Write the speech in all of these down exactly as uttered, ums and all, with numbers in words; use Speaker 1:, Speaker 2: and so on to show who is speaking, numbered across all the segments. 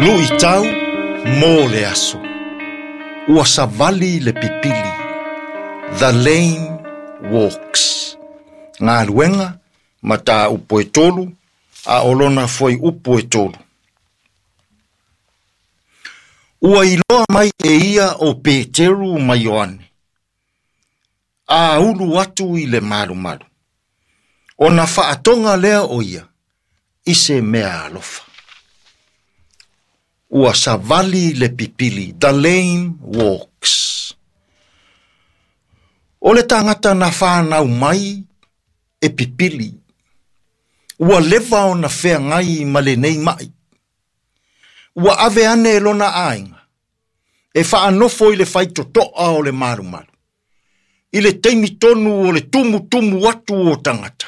Speaker 1: Luʻitau mo le aso. Ua savali le pipili. The lame walks. Galuega mataupu e tolu a o lona fuaiupu e tolu. Ua iloa mai e ia o Peteru ma Ioane. A ulu atu i le malumalu. Ona faatoga lea o ia i se mea alofa. Ua savali le pipili. The lame walks. O le tagata na whanau mai e pipili. Ua leva ona feagai ma lenei mai. Ua ave ane e lona aiga. E whaanofo i le whaitotoa o le malumalu. I le taimi tonu o le tumu tumu atu o tangata.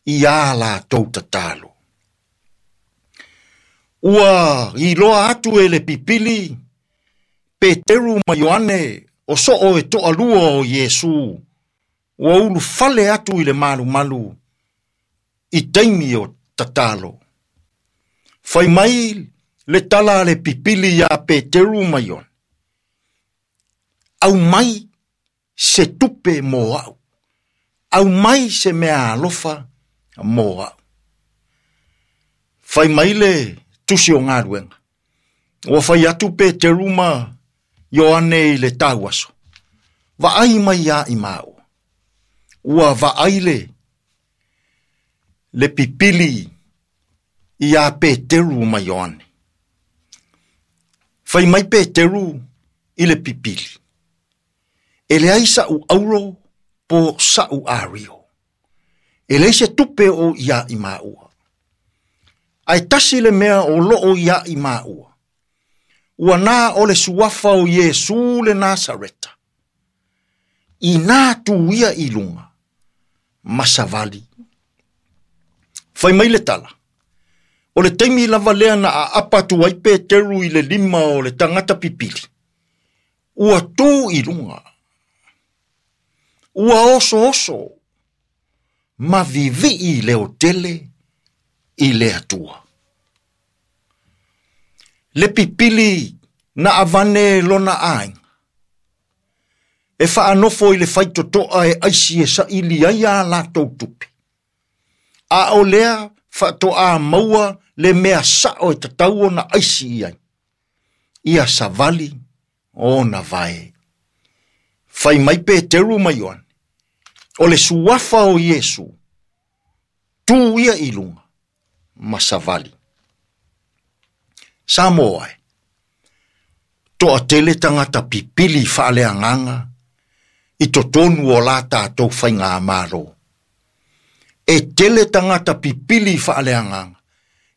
Speaker 1: I a latou tatalo. Ua iloa atu e le pipili, Peteru ma Ioane o soo e toalua o Iesu. Ua ulufale atu i le malumalu i taimi o tatalo. Fai mai le tala le pipili ia Peteru ma Ioane. Au mai se tupe mo au. Au mai se mea alofa mo au. Fai mai le tusi o galuega. Ua fai atu Peteru ma Ioane i le tauaso. Vaai mai ia i mau. Ua vaai le le pipili ia Peteru ma Ioane. Fai mai Peteru i le pipili. E leai sa'u auro po sa'u ario. E leai se tupe o ia i maua. Ae tasi le mea o loo ia i maua. Ua nā o le suafa o Iesu le Nasareta. I nā tu ia i lunga. Ma savali. Fai mai le tala. O le taimi lava lea na aapa atu ai Peteru i le lima o le tagata pipili. Ua tu i lunga. Ua oso oso. Ma vivii le otele i le atua. Le pipili na avane lona aiga. E whaanofo i le whaitotoa e aisi e saili ai a latou tupe. A o lea whaatoa maua le mea sao e tatau ona aisi i ai. Ia savali o na vae. Fai mai Peteru ma Ioane. O le suafa o Iesu. Tu ia i lunga. Ma savali. Samoa e. Toa tele tangata pipili faaleagaga i totonu o la tātou whainga maro. E tele tangata pipili faaleagaga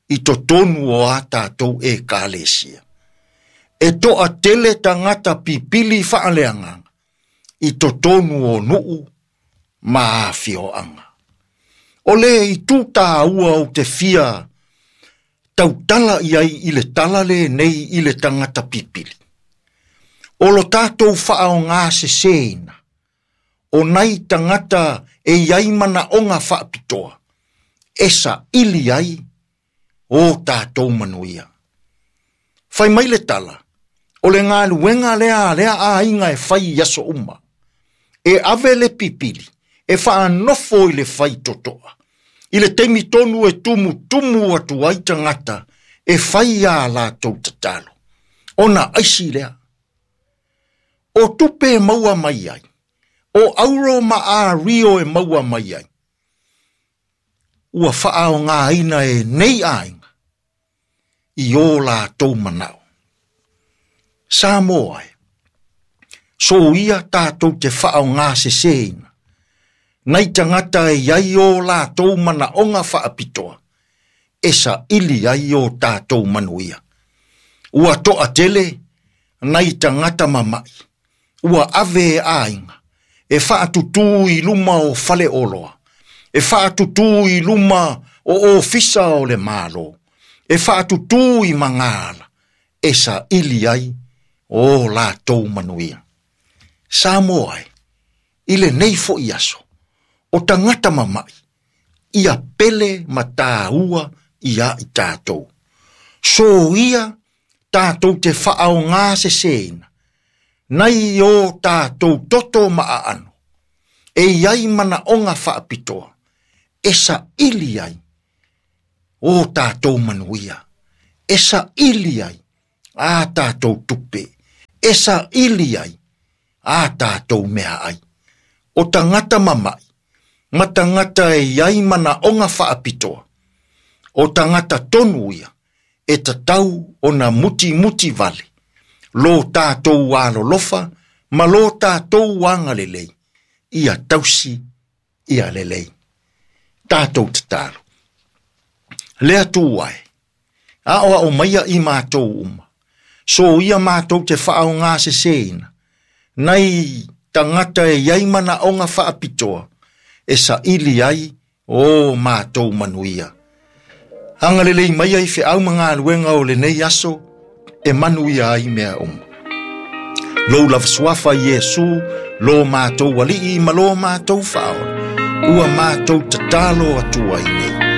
Speaker 1: i totonu o a tātou e kalesia. E toa tele tangata pipili faaleagaga i totonu o nuu ma afioanga. O le i tū ua o te fia tautala iai i le tala le nei i le tangata pipili. O lo tātou whaonga se seina. O nai tangata e iai mana onga whaapitoa. Esa ili ai o tātou manuia. Whai mai le tala. O le ngā luenga lea lea a inga e whai aso uma. E ave le pipili. E whaanofo i le whai totoa. I le taimi tonu e tumu tumu atu ai tangata e whai a latou tatalo. Ona aisi lea. O tupe e maua mai ai. O auro ma a rio e maua mai ai. Ua whaao ngā aina e nei ainga. I o latou manao. Samoa e. So ia tātou te whaao ngā seseina. Nei tangata e iai o latou manaonga whaapitoa. Esa ili ai o tātou manuia. Ua toa tele, nei tangata mamai. Ua ave e ainga. E whaatutū i luma o whale oloa. E whaatutū i luma o ofisa o le malo. E whaatutū i mangala. Esa ili ai o latou manuia. Samoa e, i le nei fo i aso. O tangata mamai, ia pele matāua ia i tātou. So ia tātou te whaaonga se seina, nei o tātou toto maaano, e iai mana onga whaapitoa, e sa ili ai, o tātou manuia, e sa ili ai, a tātou tupe, e sa ili ai, a tātou mea ai. O tangata mamai, ma tangata e iai mana onga whaapitoa, o tangata tonu ia, e tatau o na muti muti vale, lo tātou alolofa, ma lo tātou angalelei, ia tausi, ia lelei. Tātou tatalo. Lea tū ai, a oa o maia i mātou uma, so ia mātou te whaao ngā se seina, nei tangata e iai mana onga whaapitoa, e sa ili ai o mātou manuia. Angalelei mai ai wheau mga aluenga o le nei aso, e manuia ai mea uma. Lou lava suafa Iesu, lo mātou alii ma lo mātou whaola, ua mātou tatalo atu ai nei.